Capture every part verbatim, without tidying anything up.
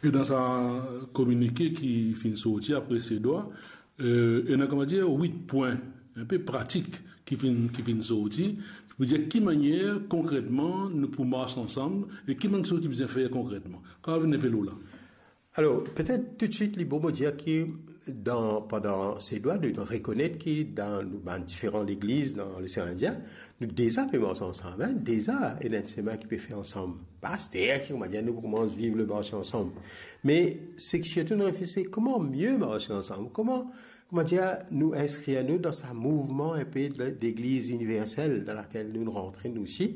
E dan sa kominike ki finn sorti apre Sedwa, eh, ena, kouma dir, wit pwin, enpe pratik ki finn, ki finn sorti, pou dir ki manier konkretman nou pou mars ansam e ki bann kiksoz ki bizin fer konkretman. Kan vinn enpe lor la. Alor, petet toutswit, li bon mo dir ki dan, pandan Sedwa, nou, nou rekonet ki dan nou bann diferan legliz dan Losean Indien, nou deza pe mars ansam, hein, deza ena enn semin ki pe fer ansam. Pa aster ki, kouma dir, nou pou koumans viv le mars ansam. Me seki sirtou nou refleti, kouma mie mars ansam? Kouma, kouma dir, nou inskrir nou dan sa mouvman enpe de, legliz iniversel dan lakel nou, nou rantre nou osi,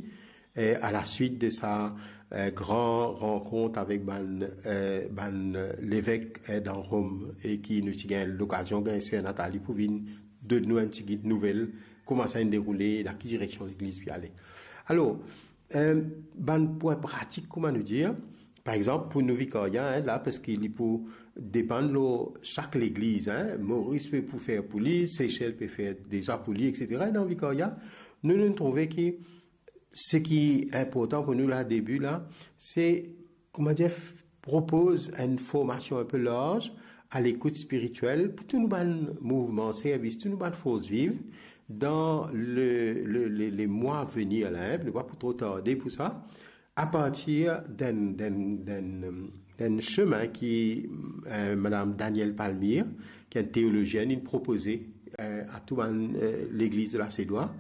eh, a la swit de sa, eh, gran rankont avek bann, eh, bann, eh, levek, eh, dan Rom, e ki nou ti gagn lokazion gagn ser Nathalie pou vinn donn nou enn tigit nouvel, kouma sa inn deroule, dan ki direksion legliz pe ale. Alor, eh, bann pwin pratik, kouma nou dir, par exanp, pou nou vikaria, hein, la, paski li pou depann lor sak legliz, hein, Moris pe pou fer pou li, Sesel pe fer deza pou li, et cetera. E dan vikaria, nou, nou trouve ki seki inportan pou nou la, debi la, se, kouma dir, f-, propoz enn formasion enpe larz a lekout spiritiel pou tou nou bann mouvman servis, tou nou bann fors viv dan le, le, le, le mwa venir la, hein, nou pa pou tro tarde pou sa, apartir d'enn, d'enn, d'enn, d'enn semin ki, eh, madam Danielle Palmyre, ki enn teolozienn, inn propoze, eh, a tou bann, eh, legliz de la Sedwa.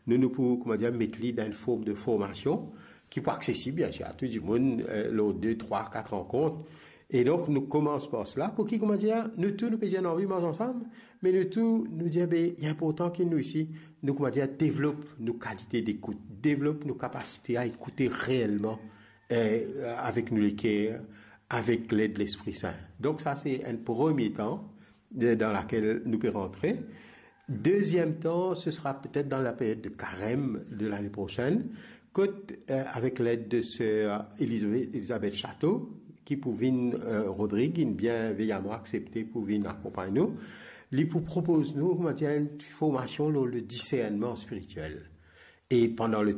Nou, nou pou, kouma dir, met li dan enn form de formasion ki pou aksesib, biensir, a tou dimoun, eh, lor de, trwa, kat rankont. E donk, nou koumans par sela, pou ki, kouma dir, nou tou, nou pe dir nou anvi mars ansam, me nou tou, nou dir, be, li inportan ki nou osi, nou, kouma dir, devlop nou kalite dekout, devlop nou kapasite a ekoute reelman, eh, avek nou leker, avek led Lespri Sin. Donk, sa, se enn premie tan de, dan lakel nou pe rantre. Deziem tan, se sera petet dan la period de karem de lane prosenn, kot, eh, avek led de ser Elizabeth, Elizabeth Chateau, ki pou vinn, eh, Rodrig, inn bien veyaman aksepte pou vinn akonpagn nou, li pou propoz nou, kouma dir, enn formasion lor le disernman spiritiel. E pandan le